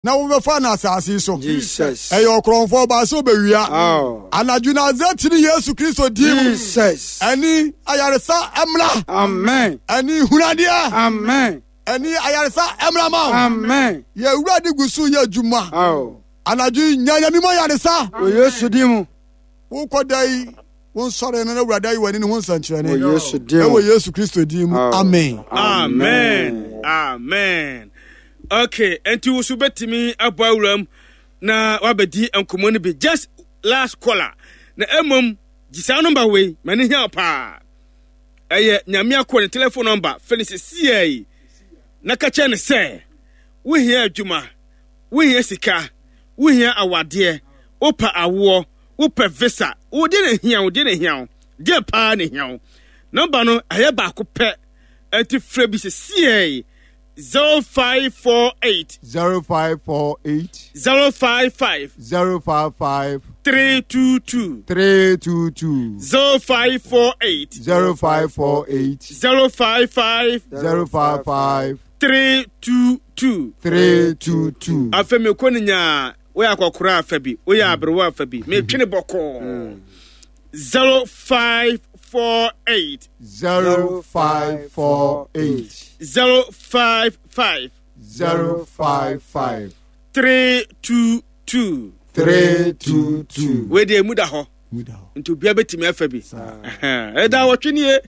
Na wobɛfa no asase yi so. Jesus. Ɛyɛ ɔkorɔmfoɔ ɔbaa sɛ ɔbɛwia. Oh. Anadwo Nasaret ne Yesu Kristo din mu. Jesus. Ɛne ayaresa mmra. Amen. Ɛne hunadeɛ. Amen. Ɛne ayaresa mmra ma wo. Amen. Yɛ Awurade gu so yɛ adwuma. Oh. Anadwo yi nya Nyame mu ayaresa. Wɔ Yesu din mu. Wokɔ da yi, wo nsɔre no na Awurade ayi w'ani ne ho nsɛnkyerɛnne. Wɔ Yesu din mu. Ɛwɔ Yesu Kristo din mu. Oh. Amen. Amen. Amen. Okay, nti wo so bɛtumi abɔ awuram na wabɛdi nkɔmmɔ no bi. Just last caller. Na mmom, gye saa nɔmba wei, m'ani hia wo paa. Ɛyɛ Nyame akoa ne telephone nɔmba, fɛ no sesiei yi. Na ka kyerɛ no sɛ, wohia adwuma, wohia sika, wohia awadeɛ, wopɛ awoɔ, wopɛ visa, wo deɛ na hia wo, deɛ na hia wo, deɛ paa na hia wo. Nɔmba no ɛyɛ baako pɛ, ɛnti frɛ bi sesiei. 0548. 0548. 055. 055. 322. 322. 0548. 0548. 055. 055. 322. 322. Afei mekɔ no nyaa woyɛ akɔkora afa bi woyɛ aberewa afa bi metwe ne bɔkɔɔ 0548. 0548. 055. 055. 322. 322. Wei deɛ emu da hɔ. Nti obiara bɛtumi afa bi. Ɛda wɔtwe nie.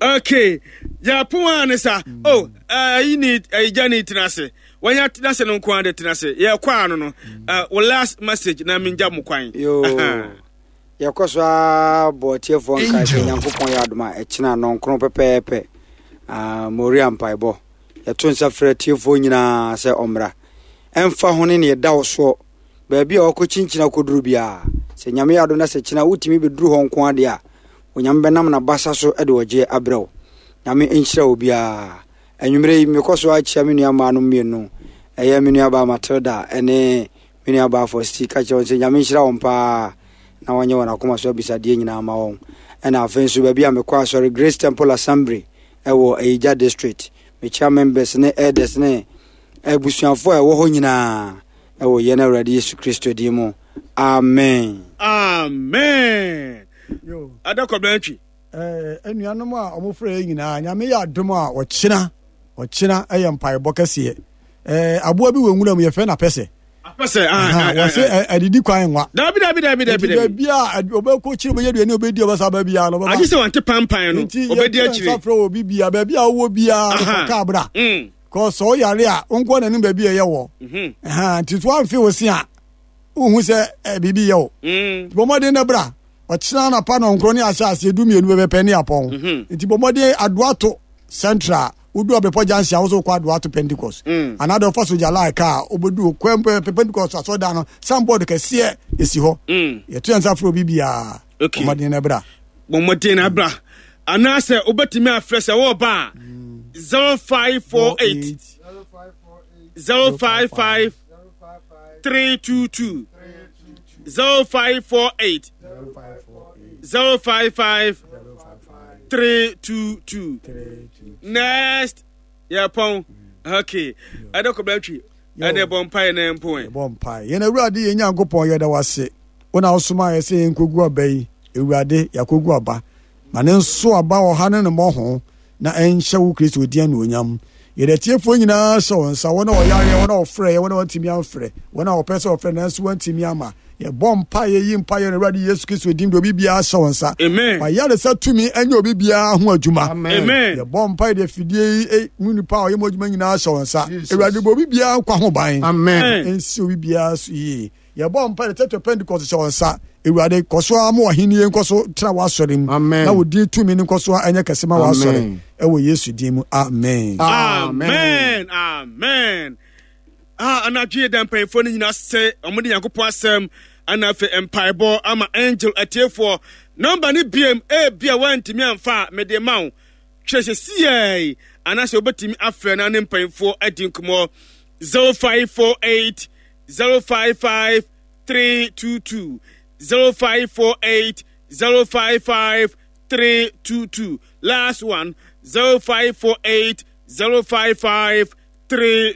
Okay. Yɛpon a ne sa. Oh, ayi ni ayi gya ni tena ase. Wɔnya tena ase no nko ara de tena ase. Yɛkɔ ano no. Wo last message na mengya mo kwan. Yo. Yɛkɔ so ara bɔ atiefoɔ nkae sɛ Nyankopɔn yɛ adom a ɛkyena nnɔnkron pɛpɛɛpɛ ah, Moria mpaebɔ. Yɛto nsa frɛ atiefoɔ nyinaa sɛ ɔmmra. Ɛmfa ho ne nea ɛda wo soɔ, baabi a wakɔkyinkyini akɔduru biara, sɛ Nyame yɛ adom na sɛ kyena wotumi bɛduru hɔ nko ara deɛ a, Onyame bɛnam n'abasa so de ɔgyeɛ abrɛ wo. Nyame nhyira obiara. Anwummerɛ yi, mekɔ so ara kyia me nua mmaa no mmienu, ɛyɛ me nuabaa Matilda ne Me nua baa Fosti ka kyerɛ wɔn sɛ Nyame nhyira wɔn paa na wɔnyɛ wɔn akoma so abisadeɛ nyinaa ma wɔn. Ɛna afei nso baabi a mekɔ asɔre Grace Temple Assembly ɛwɔ Ayigya District. Mekyia members ne elders ne abusuafoɔ a ɛwɔ hɔ nyinaa ɛwɔ yɛn Awurade Yesu Kristo din mu. Amen. Amen. Ada kɔbla ntwi. Eh, anuanom a wɔfrɛ yɛ nyinaa, Nyame yɛ adom a ɔkyena, ɔkyena ɛyɛ mpaebɔ kɛseɛ. Eh, aboa bi wɔ nwura mu yɛfrɛ no apɛsɛ. Apɛsɛ, ah, ah, ah, wɔsɛ adidi kwan nwa. Dabi, dabi, dabi, dabi, dabi. Baabi a ɔbɛkɔ kyiri ɔbɛyɛ aduane ɔbɛdi ɔbɛsa ba biara no ɔbɛba. Agye sɛ wante pampan no, ɔbɛdi akyire. Nti yɛfrɛ frɛ obi bia baabi a wowɔ biara no fa kaa bra. Mm. Kɔ sɛ ɔyare a wonkɔ n'anim baabi a ɛyɛ wɔ. Mhm. Nti so amfe wo se a wohu sɛ biribi yɛ wo. Mm. Bɔ mmɔden na bra. Ɔkyena anapa nɔnkron ne ahyɛ aseɛ 12 bɛbɛpɛ ne apɔn. Mhm. Nti bɔ mmɔden Adoato Central wodu Ɔbrepɔ junction a wosɛ wokɔ Adoato Pentecost. Mm. Anaa deɛ ɔfa Sogya line kaa wobɛdu kwan Pentecost asɔredan no signboard kɛseɛ ɛsi hɔ. Mm. Yɛto yɛn nsa frɛ obi biara. Okay. Bɔ mmɔden na bra. Bɔ mmɔden na bra. Anaasɛ wobɛtumi afrɛ sɛ wɔreba a 0548 055 322 0548 055 322. Next, yɛpɔn. Okay, ɛdɛ kɔ bɛtwi. Ɛdɛ bɔ mpae na mpo ɛ. Bɔ mpae. Yɛn Awurade yɛn Nyankopɔn yɛda wase. Wo na wosoma yɛ sɛ yɛnkɔgu aba yi. Awurade, yɛakɔgu aba. Ma ne nso aba ɔha ne ne mmɔho na ɛnhyɛ wo Kristo din anuonyam. Yɛde atiefoɔ nyinaa hyɛ wo nsa, wɔn a wɔyareɛ, wɔn a wɔfrɛeɛ, wɔn a wɔantumi amfrɛ, wɔn a wɔpɛ sɛ wɔfrɛ nanso wɔantumi amma. Yɛbɔ mpaeɛ, yi mpaeɛ no Awurade Yesu Kristo din de obi biara hyɛ wo nsa. Amen. Fa yaresa tumi ɛnyɛ obi biara ho adwuma. Amen. Yɛbɔ mpaeɛ de afidie yi eh, mu nipa a ɔyɛ mu adwuma nyinaa hyɛ wo nsa. Jesus. Awurade bɔ obi biara nkwa ho ban. Amen. Ɛnsi obi biara so yie. Yɛbɔ mpae de Church of Pentecost hyɛ wɔn nsa. Awurade, kɔ so ara ma w'ahenni nkɔ so tra w'asɔre mu. Amen. Na wo din tumi no nkɔ so ara nyɛ kɛse ma w'asɔre. Amen. Ɛwɔ Yesu din mu. Amen. Amen. Amen. Ah, anadwo yi da mpanyinfoɔ no nyinaa sɛ wɔn de Nyankopɔn asɛm ana afei mpaebɔ ama angel atiefoɔ. Nɔmba no biem ebi a wɔantumi amfa a mede ma wo. Kyerɛ sɛ siai anaasɛ wobɛtumi afrɛ na ne mpanyinfoɔ adi nkɔmmɔ 0548 055 322 0548 055 322 last one 0548 055. 3.